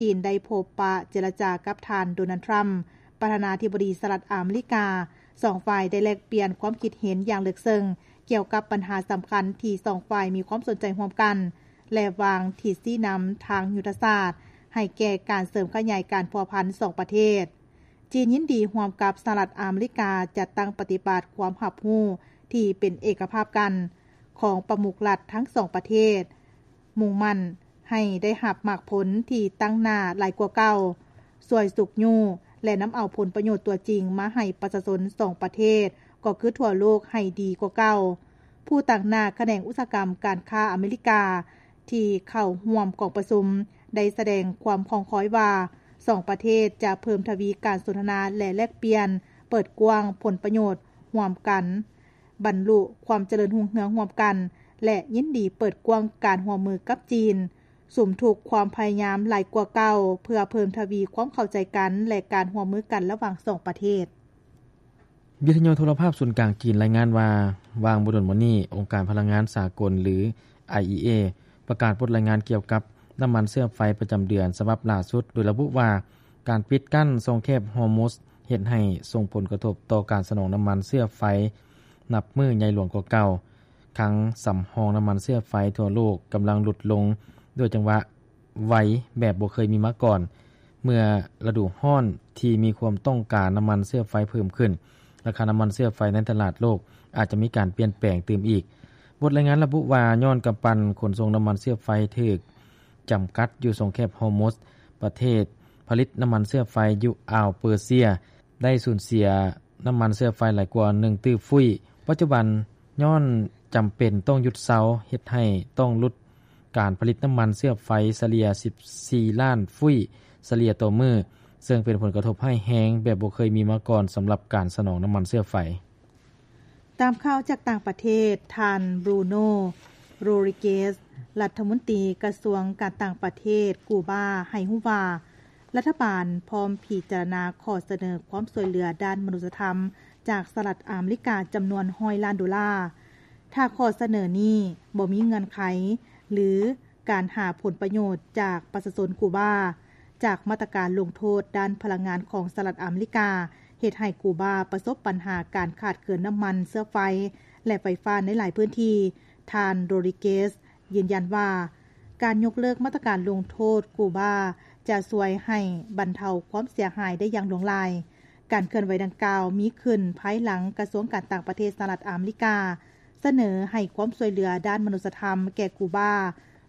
ຈີນໄດ້ພົບປະເຈລະຈາກັບທ່ານ ໂດນັລ ທຣຳ ປະທານາທິບໍດີສະຫະລັດອາເມລິກາ. ສອງຝ່າຍໄດ້ແລກປ່ຽນຄວາມຄິດເຫັນຢ່າງເລິກເຊິ່ງກ່ຽວກັບບັນຫາສຳຄັນທີ່ສອງຝ່າຍມີຄວາມສົນໃຈຮ່ວມກັນ ແລະ ວາງທິດຊີ້ນຳທາງຍຸດທະສາດໃຫ້ແກ່ການເສີມຂະຫຍາຍການພົວພັນສອງປະເທດ. ຈີນຍິນດີຮ່ວມກັບສະຫະລັດອາເມລິກາຈັດຕັ້ງປະຕິບັດຄວາມຮັບຮູ້ທີ່ເປັນເອກະພາບກັນຂອງປະມຸກລັດທັງສອງປະເທດ, ມຸ່ງໝັ້ນໃຫ້ໄດ້ຮັບໝາກຜົນທີ່ຕັ້ງໜ້າຫຼາຍກວ່າເກົ່າ, ຊ່ວຍຊຸກຍູ້ ແລະ ນຳເອົາຜົນປະໂຫຍດຕົວຈິງມາໃຫ້ປະຊາຊົນສອງປະເທດ ກໍຄືທົ່ວໂລກໃຫ້ດີກວ່າເກົ່າ. ຜູ້ຕາງໜ້າຂະແໜງອຸດສາຫະກຳການຄ້າອາເມລິກາ ທີ່ເຂົ້າຮ່ວມກອງປະຊຸມ ໄດ້ສະແດງຄວາມຄອງຄອຍວ່າ ສອງປະເທດຈະເພີ່ມທະວີການສົນທະນາ ແລະ ແລກປ່ຽນ, ເປີດກວ້າງຜົນປະໂຫຍດຮ່ວມກັນ, ບັນລຸຄວາມຈະເລີນຮຸ່ງເຮືອງຮ່ວມກັນ ແລະ ຍິນດີເປີດກວ້າງການຮ່ວມມືກັບຈີນ, ສຸມທຸກຄວາມພະຍາຍາມຫຼາຍກວ່າເກົ່າ ເພື່ອເພີ່ມທະວີຄວາມເຂົ້າໃຈກັນ ແລະ ການຮ່ວມມືກັນລະຫວ່າງສອງປະເທດ. ວິທະຍຸໂທລະພາບສູນກາງຈີນລາຍງານວ່າ, ວ່າງບໍ່ດົນມານີ້, ອົງການພະລັງງານສາກົນ ຫຼື ໄອ ອີ ເອ ປະກາດບົດລາຍງານກ່ຽວກັບນ້ຳມັນເຊື້ອໄຟປະຈຳເດືອນສະບັບຫຼ້າສຸດ, ໂດຍລະບຸວ່າ ການປິດກັ້ນຊ່ອງແຄບຮໍມຸດເຮັດໃຫ້ສົ່ງຜົນກະທົບຕໍ່ການສະໜອງນ້ຳມັນເຊື້ອໄຟນັບມື້ໃຫຍ່ຫຼວງກວ່າເກົ່າ. ຄັງສຳຮອງນ້ຳມັນເຊື້ອໄຟທົ່ວໂລກກຳລັງຫຼຸດລົງດ້ວຍຈັງຫວະ ໄວແບບບໍ່ເຄີຍມີມາກ່ອນ. ເມື່ອລະດູຮ້ອນທີ່ມີຄວາມຕ້ອງການນ້ຳມັນເຊື້ອໄຟເພີ່ມຂຶ້ນ, ລາຄານ້ຳມັນເຊື້ອໄຟໃນຕະຫຼາດໂລກອາດຈະມີການປ່ຽນແປງຕື່ມອີກ. ບົດລາຍງານລະບຸວ່າ, ຍ້ອນກຳປັ່ນຂົນສົ່ງນ້ຳມັນເຊື້ອໄຟຖືກຈຳກັດຢູ່ຊ່ອງແຄບຮໍມຸດ, ປະເທດຜະລິດນ້ຳມັນເຊື້ອໄຟຢູ່ອ່າວເປີເຊຍ ໄດ້ສູນເສຍນ້ຳມັນເຊື້ອໄຟຫຼາຍກວ່າໜຶ່ງຕື້ຟຸ້ຍ. ປັດຈຸບັນ, ຍ້ອນຈຳເປັນຕ້ອງຢຸດເຊົາ, ເຮັດໃຫ້ຕ້ອງຫຼຸດການຜະລິດນ້ຳມັນເຊື້ອໄຟສະເລ່ຍສິບສີ່ລ້ານຟຸ້ຍສະເລ່ຍຕໍ່ມື້, ເຊິ່ງເປັນຜົນກະທົບຮ້າຍແຮງແບບບໍ່ເຄີຍມີມາກ່ອນສຳລັບການສະໜອງນ້ຳມັນເຊື້ອໄຟ. ຕາມຂ່າວຈາກຕ່າງປະເທດ, ທ່ານ ບຣູໂນ ໂຣດຣິເກສ ລັດຖະມົນຕີກະຊວງການຕ່າງປະເທດກູບາ ໃຫ້ຮູ້ວ່າ ລັດຖະບານພ້ອມພິຈາລະນາຂໍ້ສະເໜີຄວາມຊ່ວຍເຫຼືອດ້ານມະນຸດສະທຳຈາກສະຫະລັດອາເມລິກາຈຳນວນຮ້ອຍລ້ານໂດລາ. ຖ້າຂໍ້ສະເໜີນີ້ບໍ່ມີເງື່ອນໄຂ ຫຼື ການຫາຜົນປະໂຫຍດຈາກປະຊາຊົນກູບາ, ຈາກມາດຕະການລົງໂທດດ້ານພະລັງງານຂອງສະຫະລັດອາເມລິກາ ເຮັດໃຫ້ກູບາປະສົບບັນຫາການຂາດເຂີນນ້ຳມັນເຊື້ອໄຟ ແລະ ໄຟຟ້າໃນຫຼາຍພື້ນທີ່, ທ່ານ ໂຣດຣິເກສ ຢືນຢັນວ່າ ການຍົກເລີກມາດຕະການລົງໂທດກູບາຈະຊ່ວຍໃຫ້ບັນເທົາຄວາມເສຍຫາຍໄດ້ຢ່າງຫຼວງຫຼາຍ. ການເຄື່ອນໄຫວດັ່ງກ່າວມີຂຶ້ນພາຍຫຼັງກະຊວງການຕ່າງປະເທດສະຫະລັດອາເມລິກາ ສະເໜີໃຫ້ຄວາມຊ່ວຍເຫຼືອດ້ານມະນຸດສະທຳແກ່ກູບາ,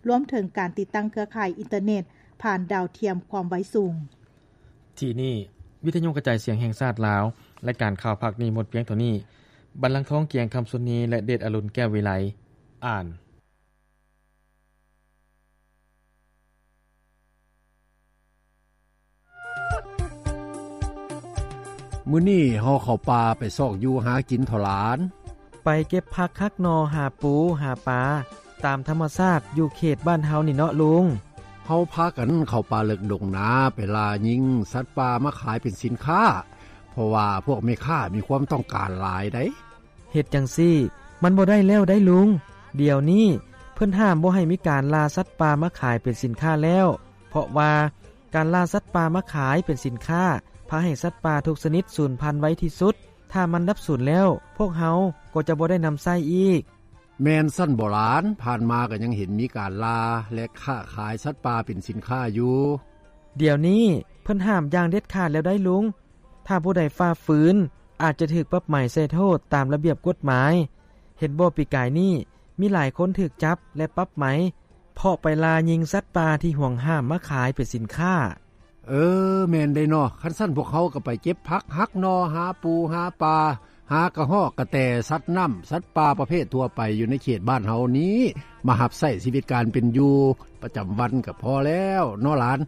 ລວມເຖິງການຕິດຕັ້ງເຄືອຂ່າຍອິນເຕີເນັດຜ່ານດາວທຽມຄວາມໄວສູງ. ທີ່ນີ້ ວິທະຍຸກະຈາຍສຽງແຫ່ງຊາດລາວ, ລາຍການຂ່າວພາກນີ້ໝົດພຽງເທົ່ານີ້. ບັນລັງທອງ ກຽງຄຳ ສຸນນີ ແລະ ເດດອະລຸນ ແກ້ວວິໄລ ອ່ານ. ມື້ນີ້ເຮົາເຂົ້າປ່າໄປຊອກຢູ່ຫາກິນເຖາະຫຼານ. ໄປເກັບຜັກຫັກໜໍ່ ຫາປູ ຫາປາ ຕາມທຳມະຊາດຢູ່ເຂດບ້ານເຮົານີ້ເນາະລຸງ. ເຮົາພາກັນເຂົ້າປ່າເລິກດົງນາ ໄປລ່າຍິງສັດປ່າມາຂາຍເປັນສິນຄ້າ ເພາະວ່າພວກແມ່ຄ້າມີຄວາມຕ້ອງການຫຼາຍໃດ໋. ເຮັດຈັ່ງຊີ້ມັນບໍ່ໄດ້ແລ້ວໃດ໋ລຸງ. ດຽວນີ້ເພິ່ນຫ້າມບໍ່ໃຫ້ມີການລ່າສັດປ່າມາຂາຍເປັນສິນຄ້າແລ້ວ, ເພາະວ່າການລ່າສັດປ່າມາຂາຍເປັນສິນຄ້າ ພາໃຫ້ສັດປ່າທຸກຊະນິດສູນພັນໄວທີ່ສຸດ. ຖ້າມັນດັບສູນແລ້ວ, ພວກເຮົາກໍຈະບໍ່ໄດ້ນຳໃຊ້ອີກ. ແມ່ນຊັ້ນບໍ່ຫຼານ? ຜ່ານມາກໍຍັງເຫັນມີການລ່າ ແລະ ຄ້າຂາຍສັດປ່າເປັນສິນຄ້າຢູ່. ດຽວນີ້ເພິ່ນຫ້າມຢ່າງເດັດຂາດແລ້ວໃດ໋ລຸງ. ຖ້າຜູ້ໃດຝ່າຝືນ ອາດຈະຖືກປັບໃໝໃສ່ໂທດຕາມລະບຽບກົດໝາຍ. ເຫັນບໍ່ ປີກາຍນີ້ມີຫຼາຍຄົນຖືກຈັບ ແລະ ປັບໃໝ ເພາະໄປລ່າຍິງສັດປ່າທີ່ຫວງຫ້າມມາຂາຍເປັນສິນຄ້າ. ເອີ, ແມ່ນເດ້ເນາະ. ຄັນຊັ້ນພວກເຮົາກໍໄປເກັບຜັກຫັກໜໍ່, ຫາປູຫາປາ, ຫາກະຮອກກະແຕ, ສັດນ້ຳ, ສັດປ່າປະເພດທົ່ວໄປຢູ່ໃນເຂດບ້ານເຮົານີ້ ມາຮັບໃຊ້ຊີວິດການເປັນຢູ່ປະຈຳວັນກໍພໍແລ້ວເນາະຫຼານ.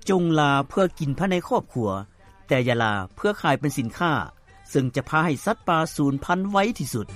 ຈົ່ງລ່າເພື່ອກິນພາຍໃນຄອບຄົວ, ແຕ່ຢ່າລ່າເພື່ອຂາຍເປັນສິນຄ້າ, ເຊິ່ງຈະພາໃຫ້ສັດປ່າສູນພັນໄວທີ່ສຸດ.